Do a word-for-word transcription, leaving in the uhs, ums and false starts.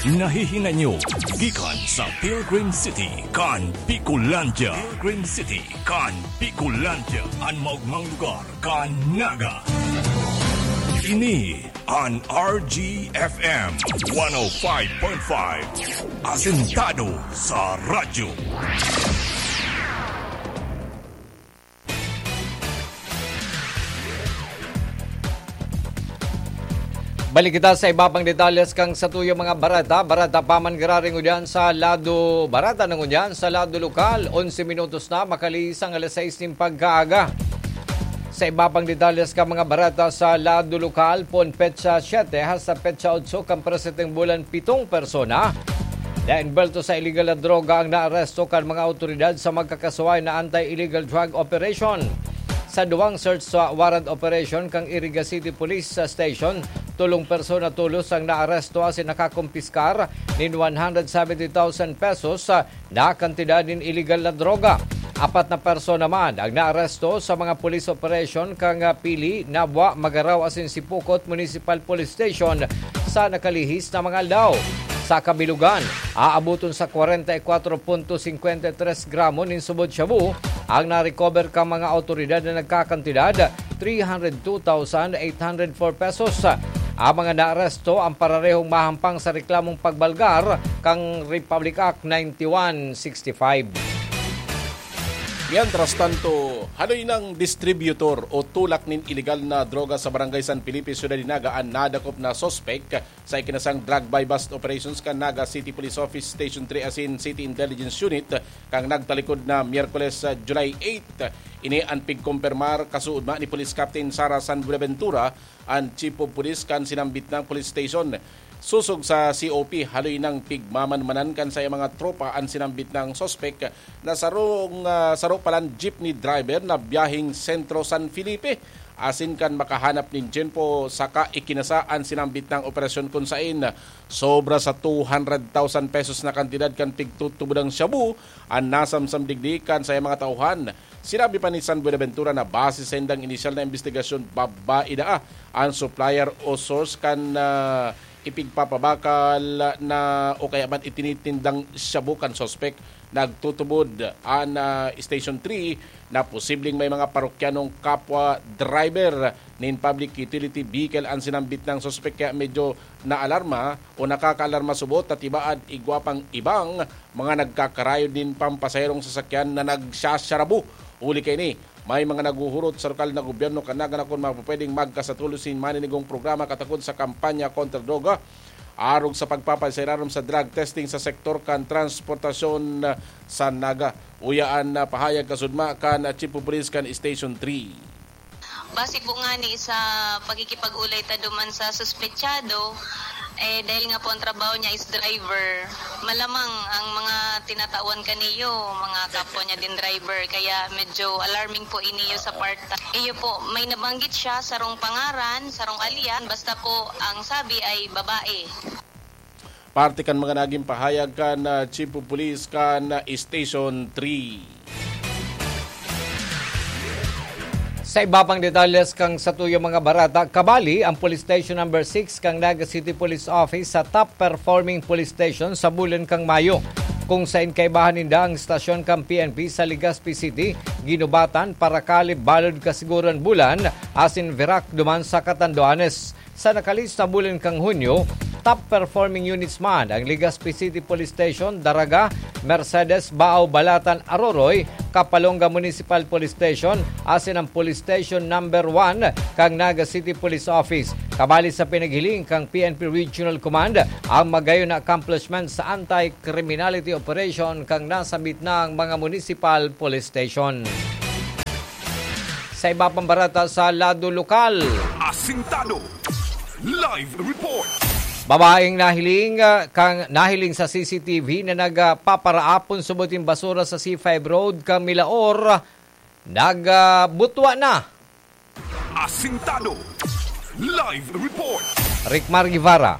Nahihinanyo gikan sa Pilgrim City kan Bicolandia. Pilgrim City kan Bicolandia, an maogmang lugar kan Naga. Ini an R G F M one oh five point five, asentado sa radyo. Balik kita sa iba pang detalles kan satuyang mga bareta. Bareta pa man giraray ngunyan sa lado, bareta na ngunyan sa lado lokal. Onse minutos na, makalihis an alas sais nin pagkaaga. Sa iba pang detalles kan mga bareta sa lado lokal, poon petsa siyete hasta petsa otso kan presenteng bulan, pitong persona na envuelto sa iligal na droga ang naaresto kan mga awtoridad sa magkakasuhay na anti-illegal drug operation. Sa duwang search sa warrant operation kan Iriga City Police Station, tolong persona tolos ang naaresto asin nakakumpiskar nin one hundred seventy thousand pesos na kantidad nin iligal na droga. Apat na persona man ang naaresto sa mga police operation kan Pili, Nabua, Magarao asin Sipocot Municipal Police Station sa nakalihis na mga aldaw. Sa kabilugan, aaboton sa kwarenta y kwatro punto singkwenta y tres gramo nin subod shabu ang na-recover kan mga awtoridad na nagkakantidad three hundred two thousand eight hundred four pesos. Ang mga naaresto ang pararehong mahampang sa reklamong pagbalgar kan Republic Act ninety-one sixty-five. Mientras tanto, haloy nang distributor o tulak nin iligal na droga sa Barangay San Felipe, Ciudad de Naga, an nadakop na suspek sa ikinasang drug buy-bust operations kan Naga City Police Office Station three asin City Intelligence Unit kan nagtalikod na Miyerkules, ah, July eight. Ini an pigkompermar kasuodma ni Police Captain Sara San Buenaventura, an Chief of Police kan sinambit nang police station. Sosog sa C O P, haloy nang pigmamanmanan kan saiyang mga tropa an sinambit nang suspek na sarong, ah, saro palan jeepney driver na biyaheng Sentro San Felipe. Asin kan makahanap nin tiyempo saka ikinasa an sinambit nang operasyon kun saen sobra sa two hundred thousand pesos na kantidad kan pigtutubodang shabu an nasamsam digdi kan saiyang mga tauhan. Sinabi pa ni San Buenaventura na base sa indang inisyal na imbestigasyon, babae daa an supplier o source kan, ah, ipigpapabakal na o kaya man itinitindang shabu kan suspek. Nagtutubod an, ah, Station three na posibleng may mga parokyanong kapwa driver nin public utility vehicle an sinambit nang suspek, kaya medyo naalarma o nakakaalarma subot ta tibaad igwa pang ibang mga nagkakarayo nin pampasaherong sasakyan na nagsasarabo. Huli kaini, may mga naghuhurot sa lokal na gobyerno kan Naga na kun mapupwedeng magkasatuloy sin maninigong programa katakod sa kampanya kontra droga, arog sa pagpapaiserarom sa drug testing sa sektor kan transportasyon sa Naga. Uya an, ah, pahayag kasudma kan, ah, Chief of Police kan Station three. Base po ngani sa pakikipag-ulay ta duman sa suspetsado, eh, dahil nga po ang trabaho niya is driver, malamang ang mga tinatawan kaniyo, mga kapwa niya din driver. Kaya medyo alarming po iniyo sa part. Iyo po, may nabanggit siya, sarong pangaran, sarong alias, basta po ang sabi ay babae. Parte kan mga naging pahayag kan, ah, Chief of Police kan, ah, Station three. Sa iba pang detalles kan satuyang mga bareta, kabali ang Police Station Number six kan Naga City Police Office sa top performing police station sa bulan kan Mayo, kung saen kaibahan ninda ang estasyon kan P N P sa Legazpi City, Guinobatan, Paracalip, Balod, Casiguran, Bulan, asin Virac duman sa Catanduanes. Sa nakalihis na bulan kan Hunyo, top performing units man ang Legazpi City Police Station, Daraga, Mercedes, Baao, Balatan, Aroroy, Kapalonga Municipal Police Station, asin ang Police Station Number One kan Naga City Police Office. Kabali sa pinaghiling kan P N P Regional Command ang magayon na accomplishment sa anti-criminality operation kan nasambit na mga municipal police station. Sa iba pang bareta sa lado lokal. Asintado. Live report. Babaeng nahiling, ah, kang nahiling sa C C T V na nagpaparaapon subot nin basura sa C five Road, kan Milaor, nagbutwa na. Asintado. Live report. Rickmar Guevara.